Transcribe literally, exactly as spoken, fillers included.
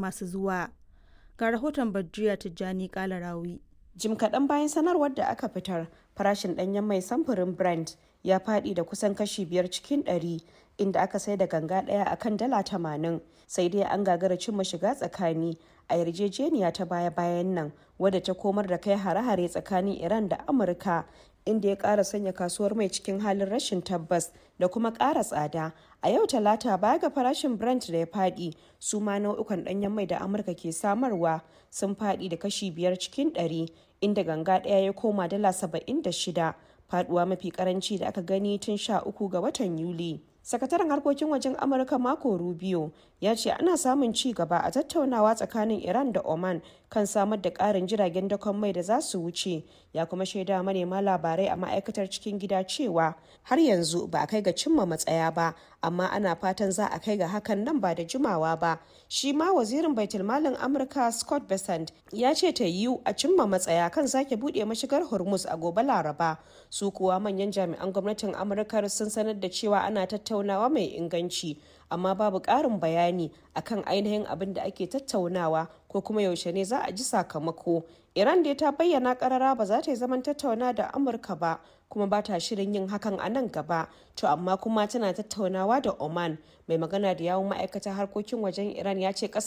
masu zuwa. Ga rahoton Badriya Tijjani Kalarawi. Jim kaɗan bayan sanarwar da aka fitar, farashin ɗanyen mai samfurin Brent ya faɗi da kusan kashi biyar cikin ɗari, inda aka sai da ganga ɗaya a kan dala tamanin. Sai dai an gagara cimma shiga tsakani a yarjejeniya ta baya-bayan nan, wadda ta komar da kai hare-hare tsakanin Iran da Amurka, inda ya ƙara sanya kasuwar mai cikin halin rashin tabbas da kuma ƙara tsada. A yau Talata, baya ga farashin Brent da ya faɗi, su ma nau'ukan ɗanyen mai da Amurka ke samarwa sun faɗi da kashi biyar cikin ɗari, inda ganga ɗaya ya koma dala saba'in da shida, faɗuwa mafi karanci da aka gani tun sha uku ga watan Yuli. Sakataren harkokin wajen Amurka Marco Rubio ya ce ana samun ci gaba a tattaunawa tsakanin Iran da Oman kan samar da ƙarin jiragen dakon mai da za su wuce. Ya kuma shaida manema labarai a ma'aikatar cikin gida cewa har yanzu ba a kai ga cimma matsaya ba, amma ana fatan za a kai ga hakan nan ba da jimawa ba. Shi ma wazirin baitulmalin Amurka Scott Bessent ya ce ta yiwu a cimma matsaya kan sake buɗe mashigar Hormuz a gobe Laraba. Su kuwa manyan jami'an gwamnatin Amurka sun sanar da cewa ana tattaunawa mai inganci, amma babu ƙarin bayani akan ainihin abin da ake tattaunawa ko kuma yaushe ne za a ji sakamako. Iran dai ta bayyana karara ba za ta yi zaman tattauna da Amurka ba, kuma ba ta shirin yin hakan a nan gaba. To amma kuma tana tattaunawa da Oman. Mai magana da yawun ma'aikatar harkokin wajen Iran ya ce kasar